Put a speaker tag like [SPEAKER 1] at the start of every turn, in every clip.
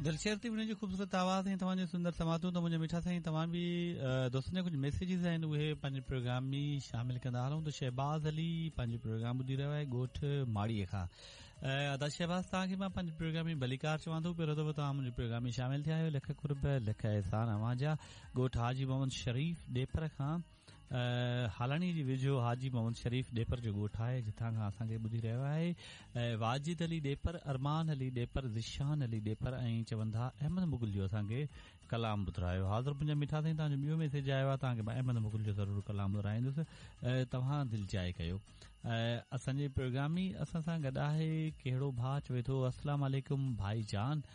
[SPEAKER 1] دلشير ٿي وڃي خوبصورت آواز ۽ توهان جون سندر سماعتون ته منهنجا مٺا سائين توهان به دوستن جا ڪجهه ميسيجز آهن اهي پنهنجي پروگرام ۾ شامل ڪندا هلون ته شهباز علي پنهنجو پروگرام ٻڌي رهيو آهي ڳوٺ ماڙي کان ادا شهباز توهان کي مان پنهنجي پروگرام ۾ ڀليڪار چوان ٿو پهريون دفعو توهان منهنجي پروگرام ۾ شامل ٿيا آهيو لک قرب لک احسان اوهان جا ڳوٺ حاجي محمد شريف ڏيپر کان هالاڻي جي ويجهو حاجي محمد شريف ڏيپر جو ڳوٺ آهي جتان کان اسان کي ٻڌي رهيو آهي واجد علي ڏيپر ارمان علي ڏيپر ذيشان علي ڏيپر ۽ چون ٿا احمد مغل جو اسان کي ڪلام ٻڌرايو حاضر منهنجا مٺا سائين توهان جو ٻيو ميسيج آيو آهي توهان کي مان احمد مغل جو ضرور ڪلام ٻڌرائيندس توهان دل جاء ڪيو اسان جي پروگرام ۾ اسان سان گڏ آهي ڪهڙو ڀاء چوي ٿو السلام عليڪم ڀائي جان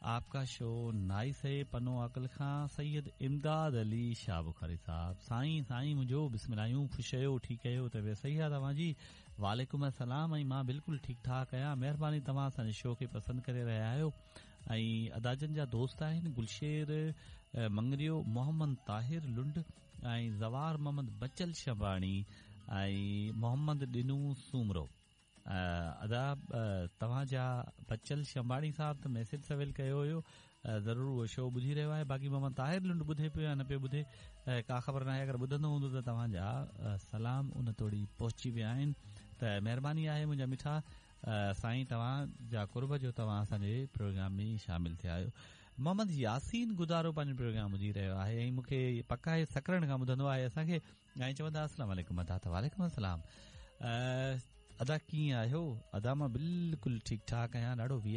[SPEAKER 1] آپ ڪا شو نائس هي پنو عاقل کان سيد امداد علي شاهه بخاري صاحب سائين سائين منهنجو بسم الله آهيون خوش آهيو ٺيڪ آهيو طبيعت صحيح آهي توهان جي وعليڪم السلام ۽ مان بلڪل ٺيڪ ٺاڪ آهيان مهرباني توهان اسان جي شو کي پسند ڪري رهيا آهيو ۽ ادا جن جا دوست آهن گلشير مڱريو محمد طاهر لنڊ ۽ زوار محمد بچل شباڻي ۽ محمد ڏنو سومرو ادا توهان جا بچل شنباڻي صاحب ته ميسيج سويل ڪيو هيو ضرور اهو شو ٻڌي رهيو آهي باقي محمد طاهر لنڊ ٻڌي پيو يا نه پيو ٻڌي ڪا خبر ناهي اگر ٻڌندو هوندو ته توهان جا سلام ان توڙي پهچي ويا آهن ته مهرباني آهي منهنجا مٺا سائين توهان جا قرب جو توهان اسان جي پروگرام ۾ شامل ٿيا آهيو محمد ياسين گدارو پنهنجو پروگرام ٻڌي رهيو آهي ۽ مون کي پڪ آهي سڪرنڊ کان ٻڌندو آهي اسان کي ۽ چوندا السلام عليڪم ادا ته وعليڪم السلام ادا ڪيئن آهيو ادا مان بلڪل ٺيڪ ٺاڪ آهيان ڏاڍو وي.